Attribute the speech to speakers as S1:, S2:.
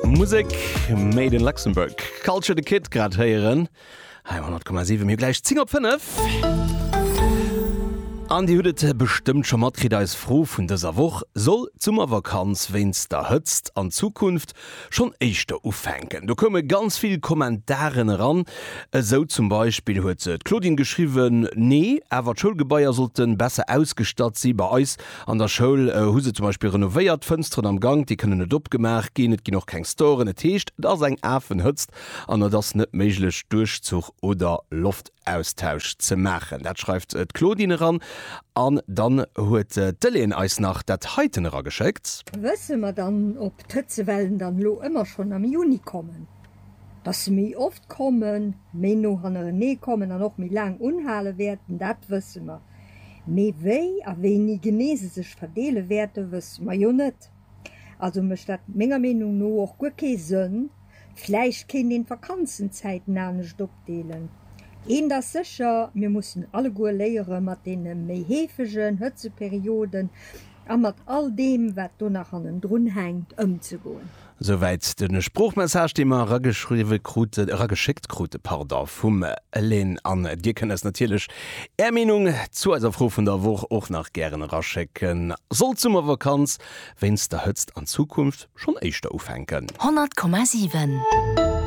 S1: Musek made in Luxembourg. Culture the Kid grad héieren hei um 100,7. Mir hu gläich 10 op 5. An Dir hutt et bestëmmt scho matkritt, eis Fro vun dëser Woch, Soll d'Summervakanz wéinst der Hëtzt an Zukunft schonn éischter ufänken? Do koume ganz vill Kommentaren eran. Esou zum Beispill huet d'Claudine geschriwwen, Nee, awer d'Schoulgebaier sollte besser ausgestatt si. Bei eis An der Schoul hu se zum Beispill renovéiert, d'Fënsteren am Gank, déi kënnen net opgemaach ginn, et ginn och keng Storen. Et heescht, et ass eng Afenhëtzt an et ass net méiglech, Duerchzuch oder Loftaustausch ze maachen. Dat schreift d'Claudine eran. An dann huet d'Hélène eis nach dat heiten erageschéckt.
S2: Wësse mer dann, ob d'Hëtzewellen dann elo ëmmer schonn am Juni kommen? Dass se méi oft kommen, méi no hannerenee kommen an och méi laang unhale wäerten, dat wësse mer. Mee wéi a wéini genee se sech verdeele wäerte wësse mer jo net. Also mécht dat menger Meenung no och guer kee Sënn. Vläicht kéint een d'Vakanzenzäiten anescht opdeelen. Eent ass sécher, mir mussen alleguer léiere mat deene méi heefegen Hëtzeperioden a mat all deem wat do nach hannendrun hänkt ëmzegoen.
S1: Souwäit de Sproochmessage, dee mer erageschriwwe kruten, erageschéckt krute, pardon, vum Elaine. An Dir kënnt eis natierlech Är Meenung zu eiser Fro vun der Woch och nach gären eraschécken. Soll d'Summervakanz wéinst der Hëtzt an Zukunft schonn éischter ufänken?
S3: 100,7.